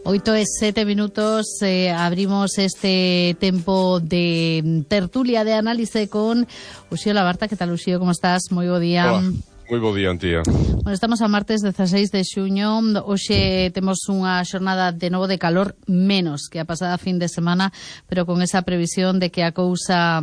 8:07, abrimos este tempo de tertulia de análise con Uxío Labarta. Que tal, Uxío? Como estás? Moi bo día. Hola. Moi bo día, Antía. Bueno, estamos a martes 16 de xuño. Hoxe temos unha xornada de novo de calor menos que a pasada fin de semana, pero con esa previsión de que a cousa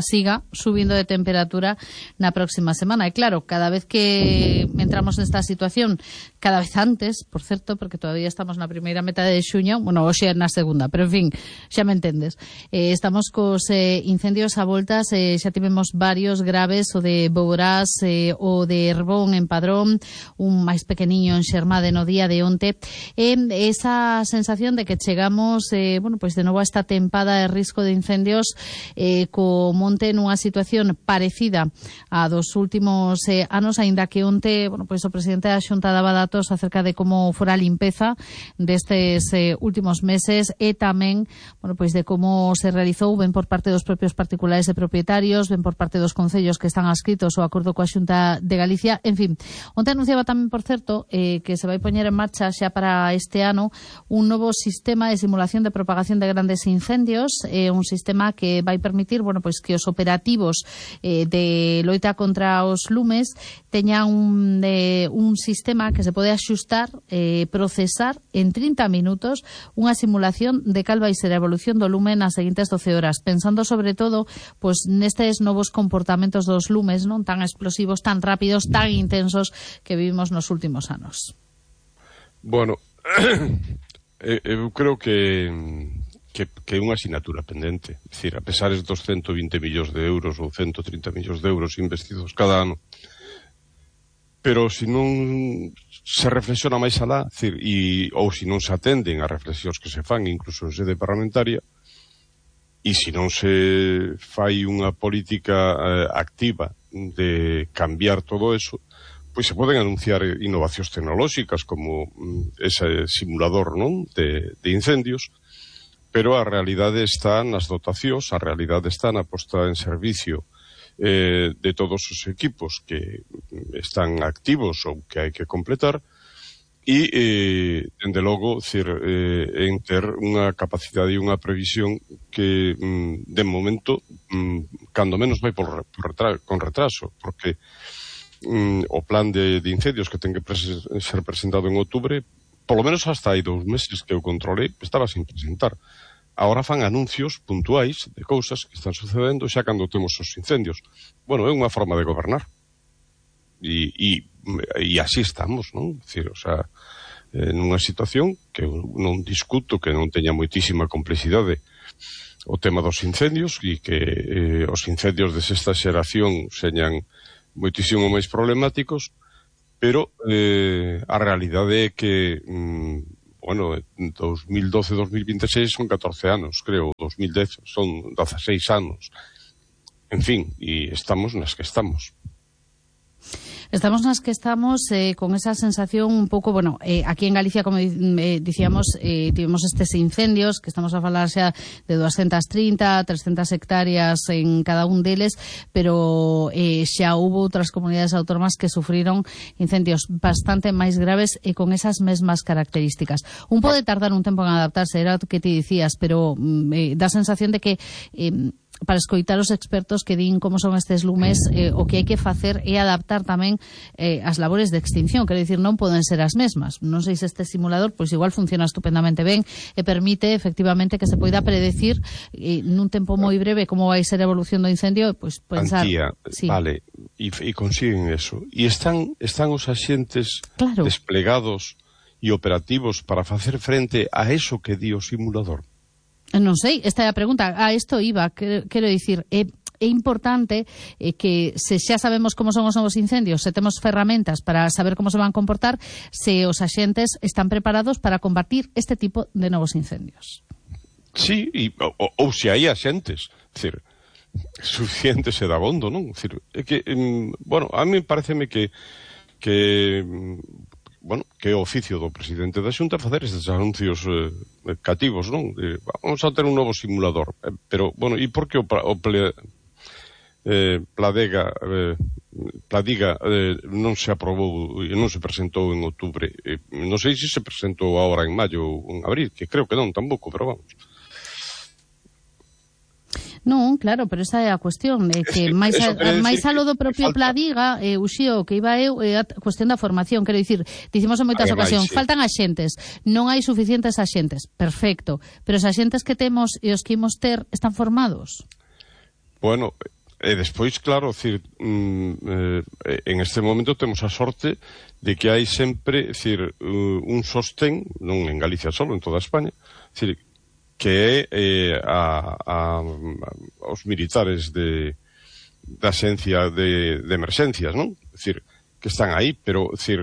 siga subindo de temperatura na próxima semana. E claro, cada vez que entramos nesta situación, cada vez antes, por certo, porque todavía estamos na primeira metade de xuño, bueno, hoxe na segunda, pero en fin, xa me entendes. Estamos cos incendios a voltas, xa tivemos varios graves, o de Boborás, o de Herbón en Padrón, un máis pequeniño en Xermade no día de onte. Esa sensación de que chegamos, pois de novo a esta tempada de risco de incendios, co monte nunha situación parecida a dos últimos anos, aínda que onte, pois o presidente da Xunta daba datos acerca de como fora a limpeza destes últimos meses e tamén, pois de como se realizou ben por parte dos propios particulares e propietarios, ben por parte dos concellos que están adscritos ao acordo coa Xunta de Galicia. En fin, onte anunciaba tamén, por certo, que se vai poñer en marcha xa para este ano un novo sistema de simulación de propagación de grandes incendios, un sistema que vai permitir, pois que os operativos de loita contra os lumes teñan un sistema que se pode axustar, procesar en 30 minutos unha simulación de cal vai ser a evolución do lume nas seguintes 12 horas, pensando sobre todo pois nestes novos comportamentos dos lumes, non tan explosivos, tan rápidos, tan intensos que vivimos nos últimos anos. Bueno, eu creo que é unha asignatura pendente. É dicir, a pesar dos 120 millóns de euros ou 130 millóns de euros investidos cada ano, pero se non se reflexiona máis alá, ou se non se atenden as reflexións que se fan incluso en sede parlamentaria, e se non se fai unha política activa de cambiar todo eso, pois se poden anunciar innovacións tecnolóxicas como ese simulador, non, de incendios, pero a realidade está nas dotacións, a realidade está na posta en servicio de todos os equipos que están activos ou que hai que completar, e, dende logo, en ter unha capacidade e unha previsión que, de momento, cando menos vai con retraso, porque o plan de incendios que ten que ser presentado en outubro, polo menos hasta hai 2 meses que eu controlei, estaba sin presentar. Agora fan anuncios puntuais de cousas que están sucedendo xa cando temos os incendios. Bueno, é unha forma de gobernar. E así estamos, non? Dicir, nunha situación que eu non discuto, que non teña moitísima complexidade o tema dos incendios, e que os incendios de sexta xeración señan moitísimo máis problemáticos, pero a realidade é que, en 2012-2026 son 14 anos, creo, 2010 son 16 anos. En fin, e estamos nas que estamos. Estamos nas que estamos con esa sensación un pouco, aquí en Galicia, como dicíamos, tivemos estes incendios, que estamos a falar xa de 230, 300 hectáreas en cada un deles, pero xa houve outras comunidades autónomas que sufriron incendios bastante máis graves e con esas mesmas características. Un pode tardar un tempo en adaptarse, era o que ti dicías, pero dá a sensación de que para escoitar os expertos que din como son estes lumes, o que hai que facer é adaptar tamén as labores de extinción, quero dicir, non poden ser as mesmas. Non sei se este simulador, pois igual funciona estupendamente ben e permite efectivamente que se poida predecir nun tempo moi breve como vai ser a evolución do incendio, pois pensar... Antía, sí. Vale, e consiguen eso. E están os axentes desplegados e operativos para facer frente a eso que di o simulador. Non sei, esta é a pregunta. Isto iba, quero dicir, é importante que se xa sabemos como son os novos incendios, se temos ferramentas para saber como se van comportar, se os axentes están preparados para combatir este tipo de novos incendios. Sí, ou se hai axentes, suficientes e dabondo, non? É que, a mí pareceme que é o oficio do presidente da Xunta facer estes anuncios cativos, non? Vamos a ter un novo simulador, pero, e por que o Pladega Pladiga non se aprobou e non se presentou en outubro. Non sei se se presentou agora en maio ou en abril, que creo que non tampouco, pero vamos. Non, claro, pero esa é a cuestión, que máis alo do propio Pladiga, Uxío, que iba eu, é a cuestión da formación, quero dicir, dicimos en moitas ocasións, faltan axentes, non hai suficientes axentes, perfecto, pero os axentes que temos e os que imos ter están formados? Bueno, e despois, claro, decir, en este momento temos a sorte de que hai sempre, decir, un sostén, non en Galicia solo, en toda España, decir, que é aos militares da Axencia de Emerxencias, non? É dicir, que están aí, pero, decir,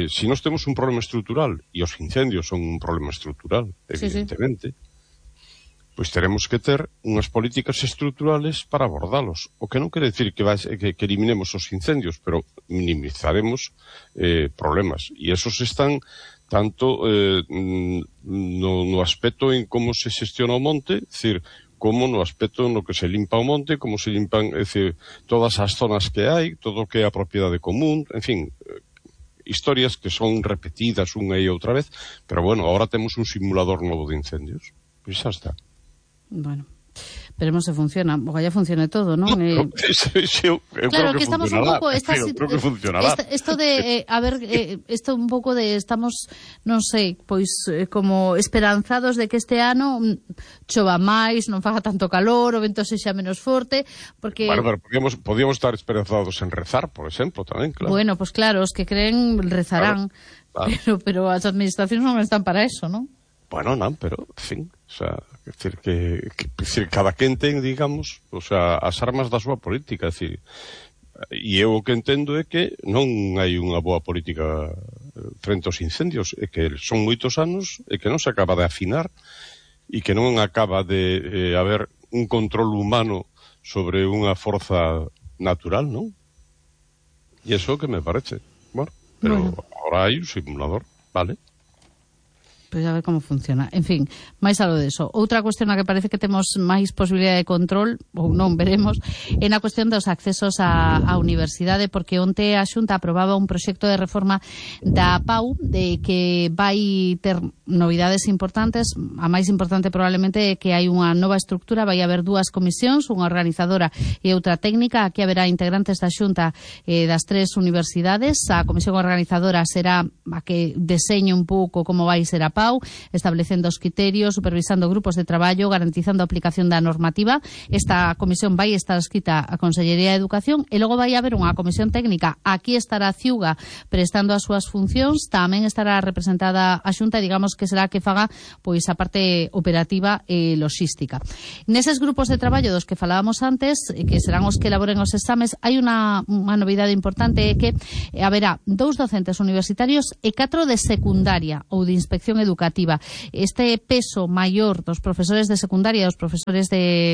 se nós temos un problema estrutural, e os incendios son un problema estrutural, evidentemente, pois teremos que ter unhas políticas estruturales para abordalos. O que non quere decir que eliminemos os incendios, pero minimizaremos problemas. E esos están tanto no aspecto en como se xestiona o monte, é dicir, como no aspecto no que se limpa o monte, como se limpan, é dicir, todas as zonas que hai, todo o que é a propiedade común, en fin, historias que son repetidas unha e outra vez, pero bueno, ahora temos un simulador novo de incendios. Pois xa está. Bueno, veremos se funciona. Ojalá funcione todo, ¿no? Claro, que estamos un pouco esto de esto un pouco de estamos, non sei, pois como esperanzados de que este ano chova máis, non faga tanto calor, o vento sexa menos forte, porque bueno, pero podíamos estar esperanzados en rezar, por exemplo, tamén, claro. Bueno, pues claro, os que creen rezarán, claro. Pero as administracións non están para eso, ¿no? Bueno, non, pero, en fin, o sea, decir que cada quen ten, digamos, o sea, as armas da súa política, decir, e eu o que entendo é que non hai unha boa política frente aos incendios, é que son moitos anos e que non se acaba de afinar e que non acaba de haber un control humano sobre unha forza natural, non? E iso que me parece. Bueno, pero agora hai un simulador, vale? Pois a ver como funciona. En fin, máis algo deso. Outra cuestión na que parece que temos máis posibilidade de control, ou non, veremos, é na cuestión dos accesos á universidade, porque onte a Xunta aprobaba un proxecto de reforma da PAU de que vai ter novidades importantes. A máis importante probablemente é que hai unha nova estructura, vai haber dúas comisións, unha organizadora e outra técnica. Aquí haberá integrantes da Xunta das tres universidades. A comisión organizadora será a que deseñe un pouco como vai ser a PAU, establecendo os criterios, supervisando grupos de traballo, garantizando a aplicación da normativa. Esta comisión vai estar escrita a Consellería de Educación e logo vai haber unha comisión técnica. Aquí estará a Ciuga prestando as súas funcións, tamén estará representada a Xunta, digamos que será a que faga pois a parte operativa e logística. Neses grupos de traballo dos que falábamos antes, que serán os que elaboren os exames, hai unha novidade importante, é que haberá 2 docentes universitarios e 4 de secundaria ou de inspección educativa. Este peso maior dos profesores de secundaria e dos profesores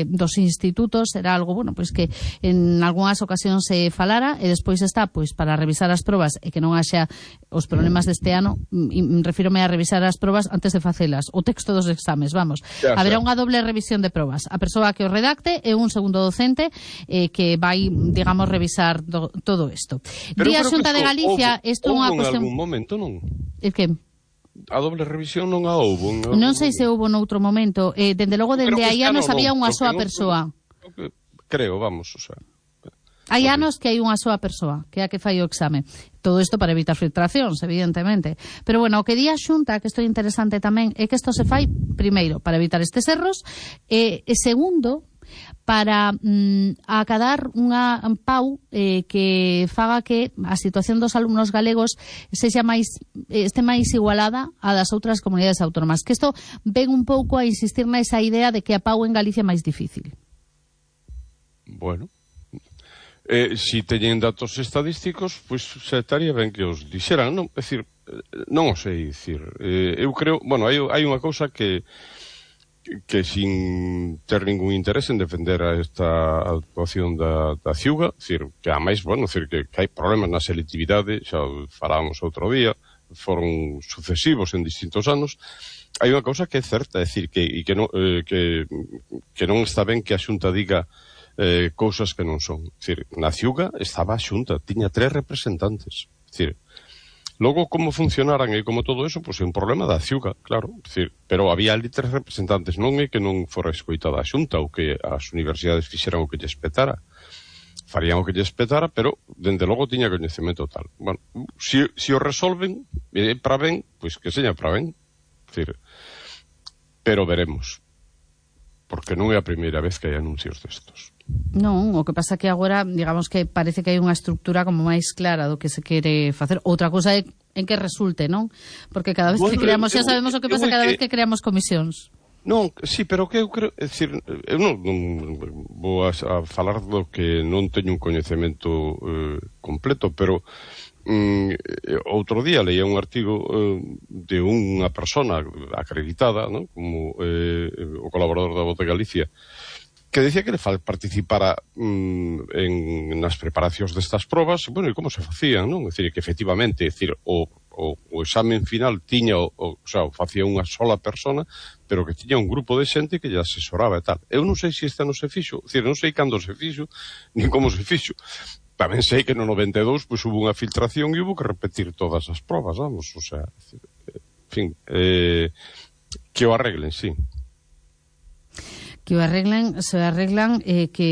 dos institutos será algo, bueno, pois que en algunhas ocasións se falara, e despois está, pois, para revisar as probas e que non haxa os problemas deste ano, refírome a revisar as probas antes de facelas, o texto dos exames, vamos. Haberá unha doble revisión de probas. A persoa que o redacte e un segundo docente que vai, digamos, revisar todo isto. Día Xunta de Galicia, isto é unha cuestión... En algún momento, non? É que... A doble revisión non a houbo. Non sei se houbo noutro momento. Dende logo, dende hai anos había unha soa persoa. Creo, vamos, o sea... Hai anos que hai unha soa persoa, que é a que fai o exame. Todo isto para evitar filtracións, evidentemente. Pero, bueno, o que di a Xunta, que isto é interesante tamén, é que isto se fai, primeiro, para evitar estes erros, e segundo, para acadar unha PAU que faga que a situación dos alumnos galegos este máis igualada a das outras comunidades autónomas. Que isto ven un pouco a insistir nesa idea de que a PAU en Galicia é máis difícil. Bueno, si teñen datos estadísticos, pois se estaría ben que os dixeran, non? É dicir, non o sei dicir. Eu creo, bueno, hai unha cousa que sin ter ningún interés en defender a esta actuación da Ciuga, decir, que a máis, bueno, decir, que hai problemas na selectividade, xa falábamos outro día, foron sucesivos en distintos anos. Hai unha cousa que é certa, é dicir, que non está ben que a Xunta diga cousas que non son. Dicir, na Ciuga estaba a Xunta, tiña 3 representantes. Dicir, logo como funcionaran e como todo eso, pois é un problema da Ciuga, claro. Dicir, pero había ali 3 representantes, non é que non fora escoitada a Xunta ou que as universidades fixeran o que lles petara. Farían o que lles petara, pero dende logo tiña coñecemento tal. Bueno, se o resolven para ben, pois que seña para ben. Dicir, pero veremos. Porque non é a primeira vez que hai anuncios destos. Non, o que pasa que agora, digamos que parece que hai unha estructura como máis clara do que se quere facer. Outra cousa é en que resulte, non? Porque cada vez que creamos, xa sabemos o que pasa cada vez que creamos comisións. Non, sí, pero que eu creo, é dicir, eu non vou a falar do que non teño un coñecemento completo, pero outro día leía un artigo de unha persona acreditada, ¿no? Como o colaborador da Voz de Galicia, que decía que le participara nas preparacións destas probas, bueno, e como se facían, non? É dicir, que efectivamente, é dicir, o examen final tiña, o sea, facía unha sola persona, pero que tiña un grupo de xente que lle asesoraba e tal. Eu non sei se esta non se fixo, é dicir, non sei cando se fixo, nin como se fixo. Tamén sei que no 92 pois hubo unha filtración e hubo que repetir todas as probas, vamos, o sea, en fin, que o arreglen, sí. Que o arreglen, que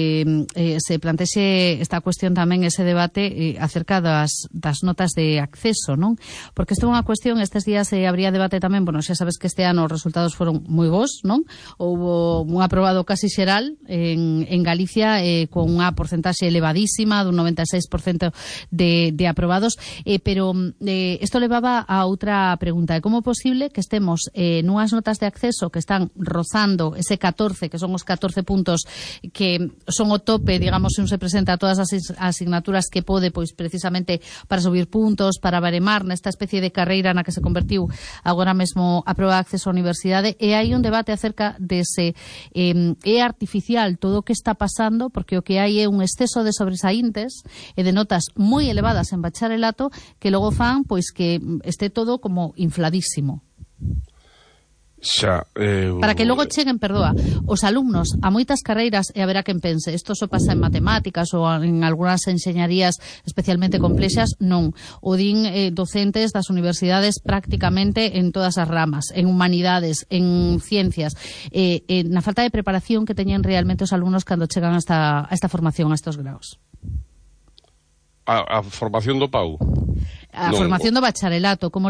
se plantexe esta cuestión tamén, ese debate acerca das notas de acceso, non? Porque isto é unha cuestión, estes días habría debate tamén, bueno, xa sabes que este ano os resultados foron moi bons, non? Houbo un aprobado casi xeral en Galicia con unha porcentaxe elevadísima, dun 96% de aprobados, pero isto levaba a outra pregunta, é como é posible que estemos nunhas notas de acceso que están rozando ese 14, que son os 14 puntos que son o tope, digamos, se un se presenta a todas as asignaturas que pode, pois, precisamente para subir puntos, para baremar nesta especie de carreira na que se convertiu agora mesmo a proba de acceso á universidade, e hai un debate acerca dese é artificial todo o que está pasando, porque o que hai é un exceso de sobresaíntes e de notas moi elevadas en bacharelato que logo fan, pois, que este todo como infladísimo. Xa, para que logo cheguen, os alumnos a moitas carreiras, e haberá quen pense, isto só pasa en matemáticas ou en algunhas enxeñarías especialmente complexas, non. O din docentes das universidades prácticamente en todas as ramas, en humanidades, en ciencias, na falta de preparación que teñen realmente os alumnos cando chegan a esta formación, a estos graos. A formación do PAU? A formación do bacharelato, como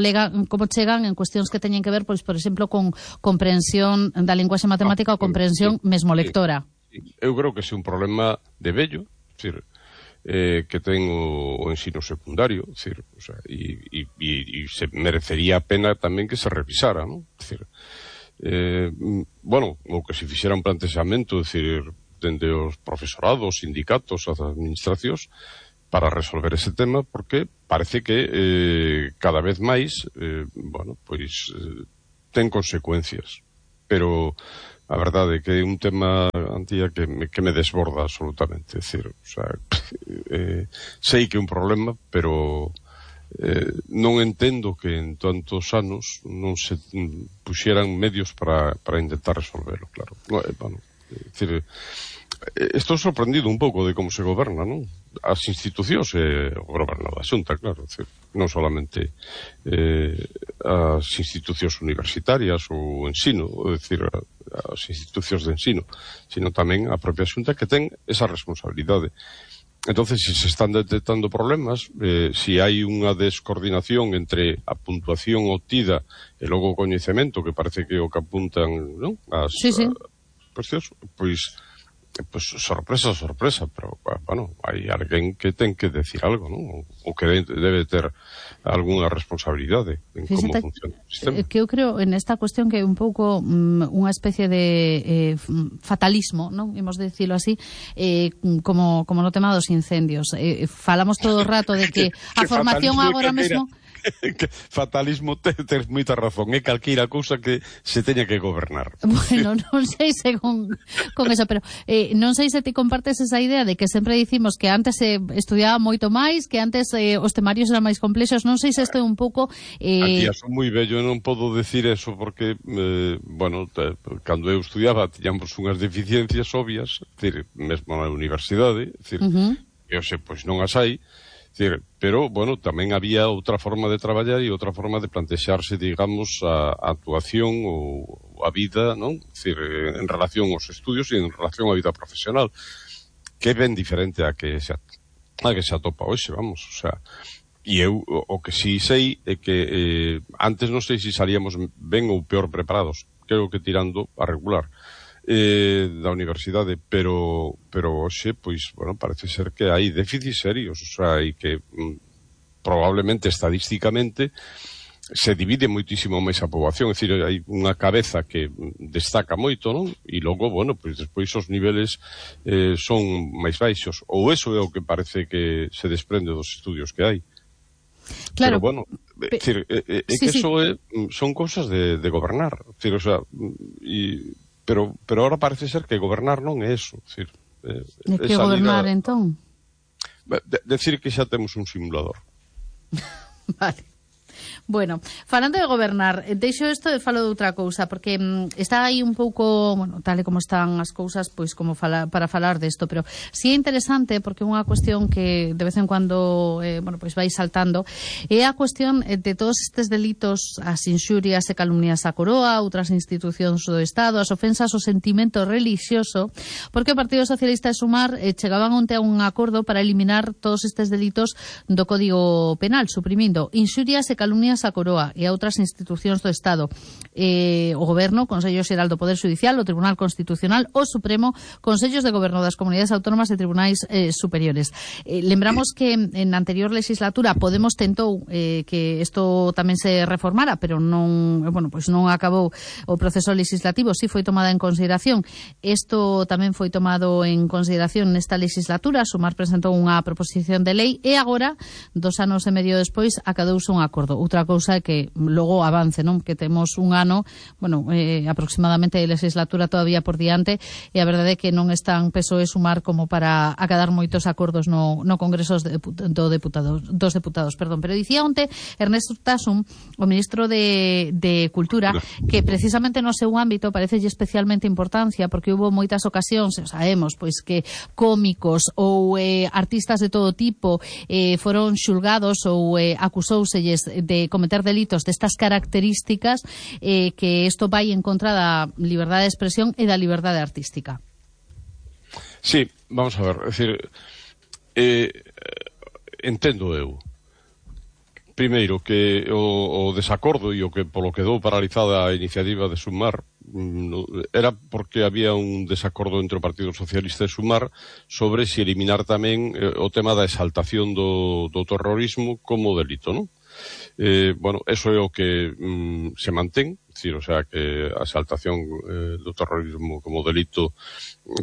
chegan en cuestións que teñen que ver, pois, por exemplo, con comprensión da linguaxe matemática ou comprensión mesmo lectora. Eu creo que é un problema de vello, decir, que ten o ensino secundario, decir, o sea, e se merecería a pena tamén que se revisara, non? Decir, bueno, ou que se fixera un plantexamento, decir, dende os profesorados, sindicatos, as administracións, para resolver ese tema, porque parece que cada vez máis bueno, pois ten consecuencias, pero a verdade é que é un tema, Antía, que me desborda absolutamente, é dicir, o sea, sei que é un problema, pero non entendo que en tantos anos non se puxeran medios para intentar resolverlo, claro. Bueno, é dicir, estou sorprendido un pouco de como se goberna, non? As institucións e o goberno da Xunta, claro, non solamente as institucións universitarias ou o ensino, é dicir, as institucións de ensino, sino tamén a propia Xunta que ten esa responsabilidade. Entonces, se están detectando problemas, se hai unha descoordinación entre a puntuación obtida e logo o coñecemento, que parece que o que apuntan, non? As cuestións, pois sorpresa, pero, bueno, hai alguén que ten que decir algo, non? Ou que debe ter algunha responsabilidade en como funciona o sistema. Que eu creo en esta cuestión que é un pouco unha especie de fatalismo, non? Imos decirlo así, como no tema dos incendios. Falamos todo o rato de que a formación agora mesmo... fatalismo tes moita razón, é calqueira cousa que se teña que gobernar. Bueno, non sei se con eso, pero non sei se ti compartes esa idea de que sempre dicimos que antes se estudiaba moito máis, que antes os temarios eran máis complexos, non sei se isto é un pouco... Aquí son moi bello, non podo decir eso porque, bueno, cando eu estudiaba tiñamos unhas deficiencias obvias, decir, mesmo na universidade, decir, eu sei, pois non as hai, decir, pero, bueno, tamén había outra forma de traballar e outra forma de plantexarse, digamos, a actuación ou a vida, non? Decir, en relación aos estudios e en relación á vida profesional, que é ben diferente a que se atopa hoxe, vamos, o sea, e eu o que si sei é que antes non sei se salíamos ben ou peor preparados, creo que tirando a regular da universidade, pero hoxe, pois, bueno, parece ser que hai déficits serios, o sea, e que probablemente estadísticamente se divide moitísimo máis a poboación, é dicir, hai unha cabeza que destaca moito, non? E logo, bueno, pois despois os niveles son máis baixos, ou eso é o que parece que se desprende dos estudios que hai. Claro. Pero, bueno, decir, que eso son cousas de gobernar, decir, o sea, pero ahora parece ser que gobernar non é eso, decir, de que gobernar, entón? Decir que xa temos un simulador. Vale. Bueno, falando de gobernar, deixo isto e falo de outra cousa, porque está aí un pouco, bueno, tal e como están as cousas, pois como para falar desto, pero si é interesante porque é unha cuestión que de vez en cuando, bueno, pois vai saltando, é a cuestión de todos estes delitos, as inxurias e calumnias á coroa, outras institucións do Estado, as ofensas ao sentimento relixioso, porque o Partido Socialista e Sumar chegaban onte a un acordo para eliminar todos estes delitos do Código Penal, suprimindo inxurias e calumnias a Coroa e a outras institucións do Estado, o Goberno, Consello Xeral do Poder Judicial, o Tribunal Constitucional, o Supremo, Consellos de Goberno das Comunidades Autónomas e Tribunais Superiores. Lembramos que en a anterior legislatura Podemos tentou que isto tamén se reformara, pero non, bueno, pois non acabou o proceso legislativo, si foi tomada en consideración. Isto tamén foi tomado en consideración nesta legislatura, Sumar presentou unha proposición de lei e agora, 2 anos e medio despois, acadouse un acordo. Outra cousa é que logo avance, non? Que temos un ano, bueno, aproximadamente de legislatura todavía por diante, e a verdade é que non están PSOE e Sumar como para acadar moitos acordos no Congreso dos Deputados, perdón. Pero dicía onte Ernesto Urtasun, o ministro de Cultura, que precisamente no seu ámbito parece especialmente importancia, porque hubo moitas ocasións, sabemos, pois que cómicos ou artistas de todo tipo foron xulgados ou acusouselles de cometer delitos destas características, que isto vai en contra da liberdade de expresión e da liberdade artística. Sí, vamos a ver, é dicir, entendo eu primeiro que o desacordo e o que polo que quedou paralizada a iniciativa de Sumar era porque había un desacordo entre o Partido Socialista e Sumar sobre se eliminar tamén o tema da exaltación do terrorismo como delito, non? Bueno, eso é o que se mantén, decir, o sea, que a exaltación do terrorismo como delito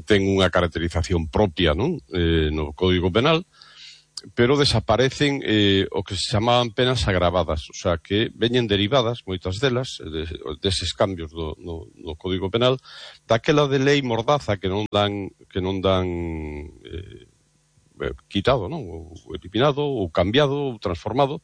ten unha caracterización propia, non? No Código Penal, pero desaparecen o que se chamaban penas agravadas, o sea, que veñen derivadas, moitas delas, deses cambios no Código Penal, daquela de lei mordaza que non dan quitado, non? Ou eliminado, ou cambiado, ou transformado,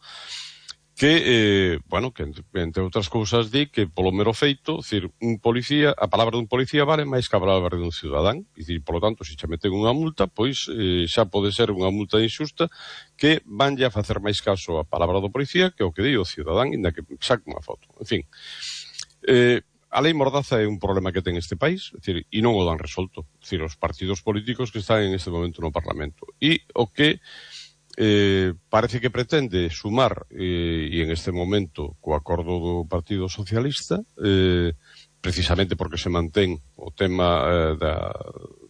que, bueno, que entre outras cousas di que polo mero feito, decir, un policía, a palabra dun policía vale máis que a palabra dun cidadán, e dicir, polo tanto, se xa meten unha multa, pois xa pode ser unha multa injusta que vanlle a facer máis caso a palabra do policía que o que di o cidadán, inda que saque unha foto. En fin, a lei mordaza é un problema que ten este país, é dicir, e non o dan resolto, é dicir, os partidos políticos que están en este momento no Parlamento. E o que parece que pretende Sumar, e en este momento co acordo do Partido Socialista, precisamente porque se mantén o tema da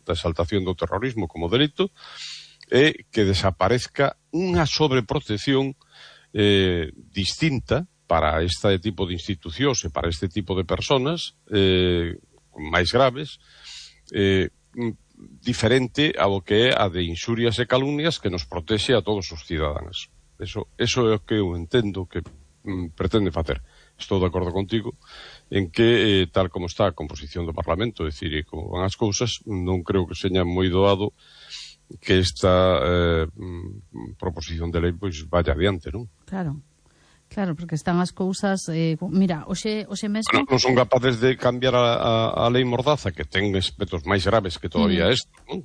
exaltación do terrorismo como delito, é que desaparezca unha sobreprotección distinta para este tipo de institucións e para este tipo de personas máis graves, diferente ao que é a de inxurias e calumnias que nos protexe a todos os cidadáns. Eso é o que eu entendo que pretende facer. Estou de acordo contigo en que, tal como está a composición do Parlamento, é dicir, como van as cousas, non creo que seña moi doado que esta proposición de lei pois vaya adiante, non? Claro, porque están as cousas... mira, hoxe mesmo... Non son capaces de cambiar a lei Mordaza, que ten aspectos máis graves que todavía isto, non?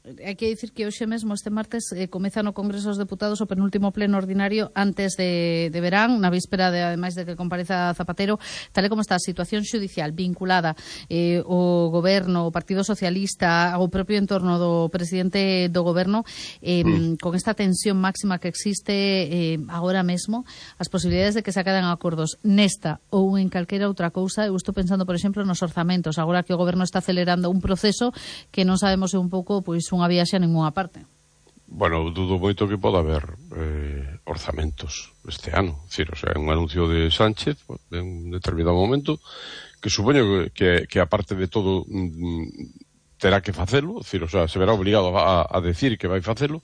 Hai que dicir que hoxe mesmo, este martes, comeza no Congreso dos Deputados o penúltimo pleno ordinario antes de verán, na víspera, ademais de que compareza Zapatero, tal como está a situación xudicial vinculada o Goberno, o Partido Socialista, ao propio entorno do presidente do Goberno, con esta tensión máxima que existe agora mesmo, as posibilidades de que se acaden acordos nesta ou en calquera outra cousa. Eu estou pensando, por exemplo, nos orzamentos, agora que o Goberno está acelerando un proceso que non sabemos un pouco, pois, unha viaxe a ninguna parte. Bueno, dudo moito que poda haber orzamentos este ano. Decir, o sea, un anuncio de Sánchez en un determinado momento que supoño que aparte de todo terá que facelo, decir, o sea, se verá obligado a decir que vai facelo,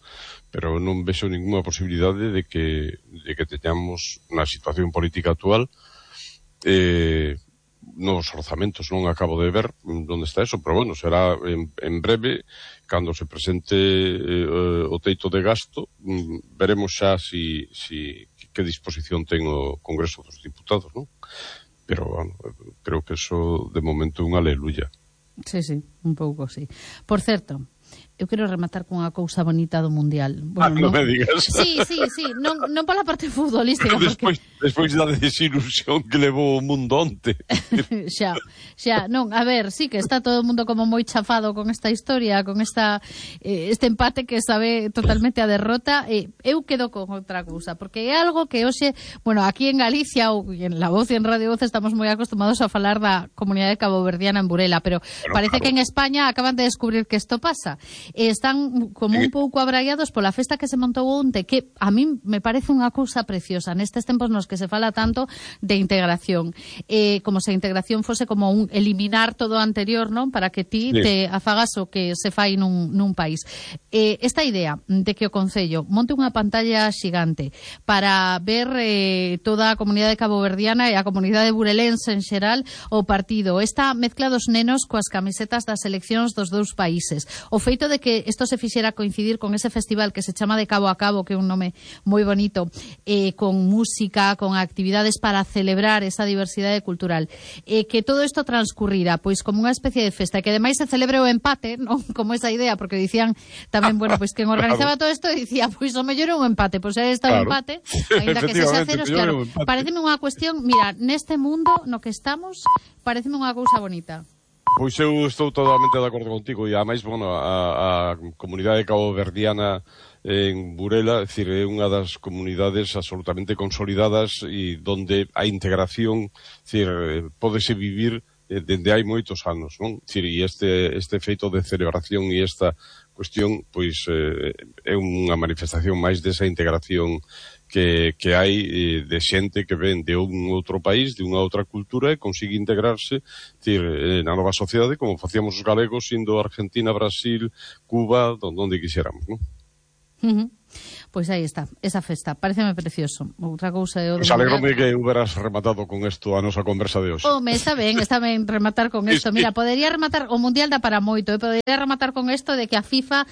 pero non vexo ninguna posibilidade de que teñamos na situación política actual nos orzamentos. Non acabo de ver onde está eso, pero bueno, será en breve. Cando se presente o teito de gasto, veremos xa que disposición ten o Congreso dos Diputados, non? Pero, bueno, creo que eso de momento é unha aleluya. Sí, un pouco, sí. Por certo, eu quero rematar con unha cousa bonita do Mundial. Bueno, non me digas. Sí, non pola parte futbolística. Despois da desilusión que levou o mundo onte. xa, non, a ver, sí que está todo o mundo como moi chafado con esta historia, con este empate que sabe totalmente a derrota. Eu quedo con outra cousa, porque é algo que hoxe, bueno, aquí en Galicia ou en La Voz e en Radio Voz estamos moi acostumados a falar da comunidade caboverdiana en Burela, pero parece que en España acaban de descubrir que isto pasa. Están como un pouco abraiados pola festa que se montou onte, que a mí me parece unha cousa preciosa nestes tempos nos que se fala tanto de integración, como se a integración fose como un eliminar todo o anterior, non? Para que ti te afagas o que se fai nun país. Esta idea de que o Concello monte unha pantalla xigante para ver toda a comunidade caboverdiana e a comunidade burelense en xeral o partido, esta mezcla dos nenos coas camisetas das seleccións dos dous países, o feito de que isto se fixera coincidir con ese festival que se chama de Cabo a Cabo, que é un nome moi bonito, con música, con actividades para celebrar esa diversidade cultural, que todo isto transcurrira pois como unha especie de festa, que ademais se celebre o empate, non como esa idea, porque dicían tamén, bueno, pois quen organizaba todo isto dicía, pois o mellor é un empate, pois é esta o empate, ainda que sexa ceros, claro, pareceme unha cuestión, mira, neste mundo no que estamos, pareceme unha cousa bonita. Pois eu estou totalmente de acordo contigo, e ademais, bueno, a comunidade caboverdiana en Burela, é dicir, é unha das comunidades absolutamente consolidadas e donde a integración, é dicir, pódese vivir dende hai moitos anos, non? É dicir, e este feito de celebración e esta cuestión, pois, é unha manifestación máis desa integración que hai de xente que ven de un outro país, de unha outra cultura e consigue integrarse, decir, na nova sociedade como facíamos os galegos indo a Argentina, Brasil, Cuba, donde quixéramos, non? Pois aí está, esa festa, pareceme precioso. Outra cousa é o de... Alegrome que hubieras rematado con isto a nosa conversa de hoxe. Home, está ben rematar con isto. Mira, podería rematar, o Mundial dá para moito, podería rematar con isto de que a FIFA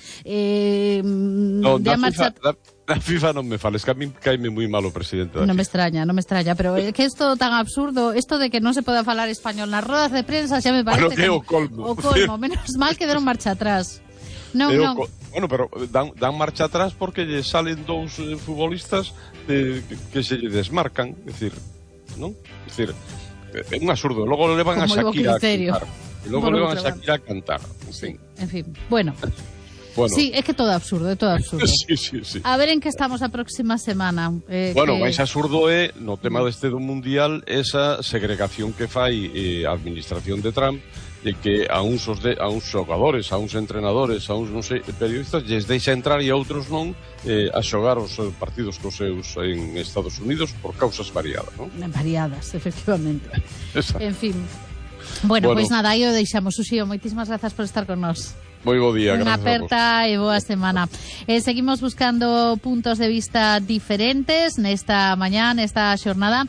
Na FIFA non me fales, que a mí caime moi mal o presidente da FIFA. Non me extraña, pero é que isto tan absurdo, isto de que non se poda falar español nas rodas de prensa, xa me parece que é o colmo. O colmo, menos mal que deron marcha atrás. Non. Bueno, pero dan marcha atrás porque lle salen dous futbolistas que se lle desmarcan, é dicir, non? É dicir, é un absurdo. Logo levan a Shakira a cantar. E logo levan a Shakira a cantar. Sí, en fin, bueno. Sí, é que todo absurdo, é todo absurdo. Sí. A ver en que estamos a próxima semana. Bueno, máis absurdo é, no tema deste do Mundial, esa segregación que fai a administración de Trump, de que a uns xogadores, a uns entrenadores, a uns, non sei, periodistas, lles deixa entrar e a outros non a xogar os partidos cos seus en Estados Unidos por causas variadas, non? Variadas, efectivamente. En fin. Bueno, pois nada, aí o deixamos. Uxío, moitísimas grazas por estar con nós. Moi bo día, Unha gracias aperta e boa semana. Seguimos buscando puntos de vista diferentes nesta mañá, nesta xornada,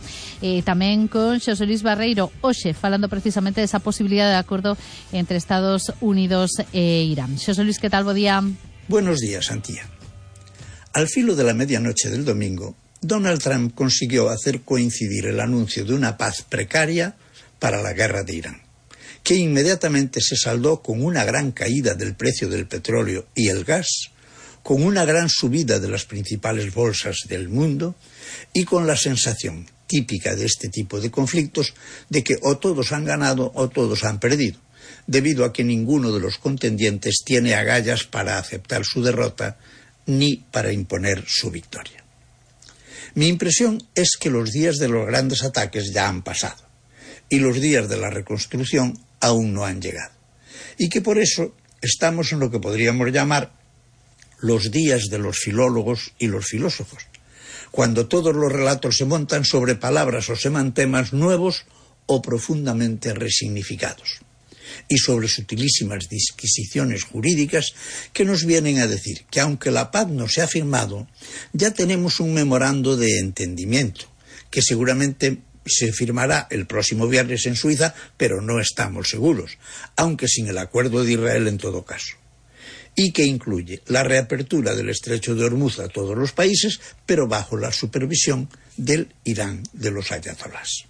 tamén con Xosé Luis Barreiro, hoxe, falando precisamente desa posibilidade de acordo entre Estados Unidos e Irán. Xosé Luis, que tal? Bo día. Buenos días, Antía. Al filo de la medianoche del domingo, Donald Trump consiguió hacer coincidir el anuncio de una paz precaria para la guerra de Irán, que inmediatamente se saldó con una gran caída del precio del petróleo y el gas, con una gran subida de las principales bolsas del mundo y con la sensación típica de este tipo de conflictos de que o todos han ganado o todos han perdido, debido a que ninguno de los contendientes tiene agallas para aceptar su derrota ni para imponer su victoria. Mi impresión es que los días de los grandes ataques ya han pasado y los días de la reconstrucción aún no han llegado, y que por eso estamos en lo que podríamos llamar los días de los filólogos y los filósofos, cuando todos los relatos se montan sobre palabras o semantemas nuevos o profundamente resignificados, y sobre sutilísimas disquisiciones jurídicas que nos vienen a decir que aunque la paz no se ha firmado, ya tenemos un memorando de entendimiento, que seguramente se firmará el próximo viernes en Suiza, pero no estamos seguros, aunque sin el acuerdo de Israel en todo caso, y que incluye la reapertura del estrecho de Hormuz a todos los países, pero bajo la supervisión del Irán de los ayatolás.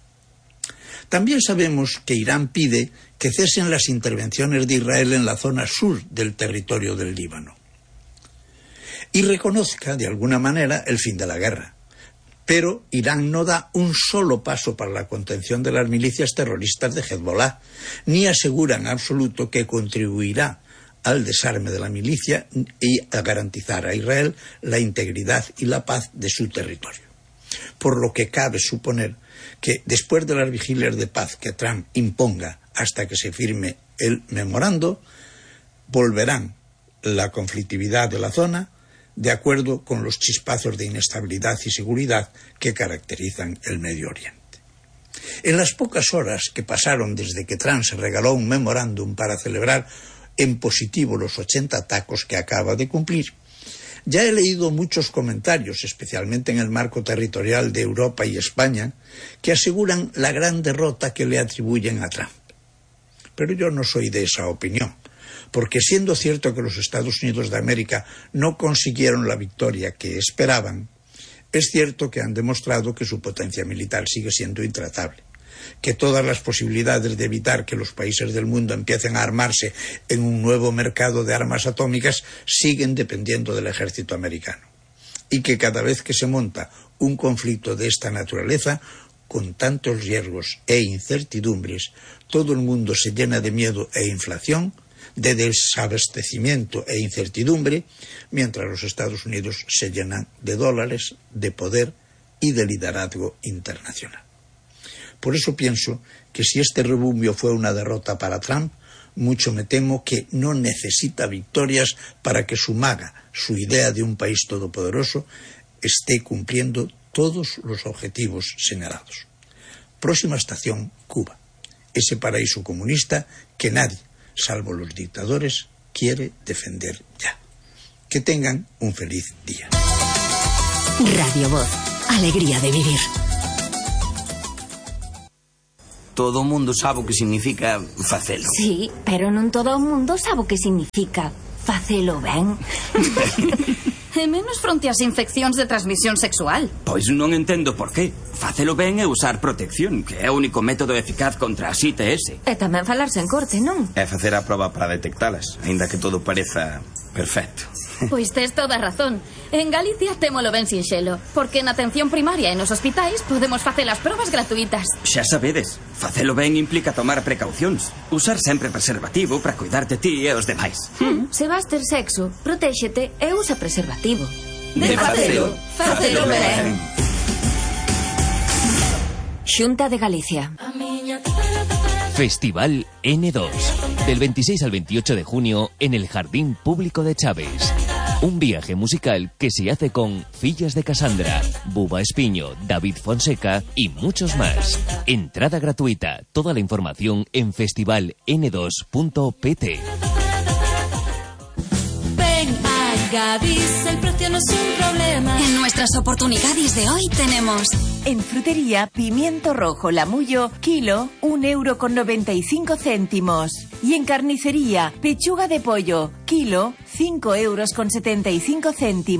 También sabemos que Irán pide que cesen las intervenciones de Israel en la zona sur del territorio del Líbano y reconozca de alguna manera el fin de la guerra. Pero Irán no da un solo paso para la contención de las milicias terroristas de Hezbollah, ni asegura en absoluto que contribuirá al desarme de la milicia y a garantizar a Israel la integridad y la paz de su territorio. Por lo que cabe suponer que después de las vigilias de paz que Trump imponga hasta que se firme el memorando, volverán la conflictividad de la zona de acuerdo con los chispazos de inestabilidad y seguridad que caracterizan el Medio Oriente. En las pocas horas que pasaron desde que Trump se regaló un memorándum para celebrar en positivo los 80 tacos que acaba de cumplir, ya he leído muchos comentarios, especialmente en el marco territorial de Europa y España, que aseguran la gran derrota que le atribuyen a Trump. Pero yo no soy de esa opinión, porque siendo cierto que los Estados Unidos de América no consiguieron la victoria que esperaban, es cierto que han demostrado que su potencia militar sigue siendo intratable, que todas las posibilidades de evitar que los países del mundo empiecen a armarse en un nuevo mercado de armas atómicas siguen dependiendo del ejército americano, y que cada vez que se monta un conflicto de esta naturaleza, con tantos riesgos e incertidumbres, todo el mundo se llena de miedo e inflación, de desabastecimiento e incertidumbre, mientras los Estados Unidos se llenan de dólares, de poder y de liderazgo internacional. Por eso pienso que si este rebumbio fue una derrota para Trump, mucho me temo que no necesita victorias para que su maga, su idea de un país todopoderoso, esté cumpliendo todos los objetivos señalados. Próxima estación, Cuba, ese paraíso comunista que nadie, salvo los dictadores, quiere defender ya. Que tengan un feliz día. Radio Voz, alegría de vivir. Todo o mundo sabe o que significa facelo. Sí, pero non todo o mundo sabe o que significa facelo ben. E menos fronte ás infeccións de transmisión sexual. Pois non entendo por qué. Facelo ben é usar protección, que é o único método eficaz contra as ITS. E tamén falarse en corte, non? É facer a proba para detectalas, aínda que todo pareza perfecto. Pois tes toda a razón. En Galicia témolo ben sinxelo, porque na atención primaria e nos hospitais podemos facer as probas gratuitas. Xa sabedes, facelo ben implica tomar precaucións. Usar sempre preservativo para cuidarte ti e os demais. Se vas ter sexo, protéxete e usa preservativo. De facelo, facelo ben. Xunta de Galicia. Festival N2. Del 26 al 28 de junio en el Jardín Público de Chaves. Un viaje musical que se hace con Fillas de Casandra, Buba Espiño, David Fonseca y muchos más. Entrada gratuita. Toda la información en festivaln2.pt. Gadis el precio no es un problema. En nuestras oportunidades de hoy tenemos... En frutería, pimiento rojo Lamullo, kilo, 1,95 €. Y en carnicería, pechuga de pollo, kilo, 5,75 €.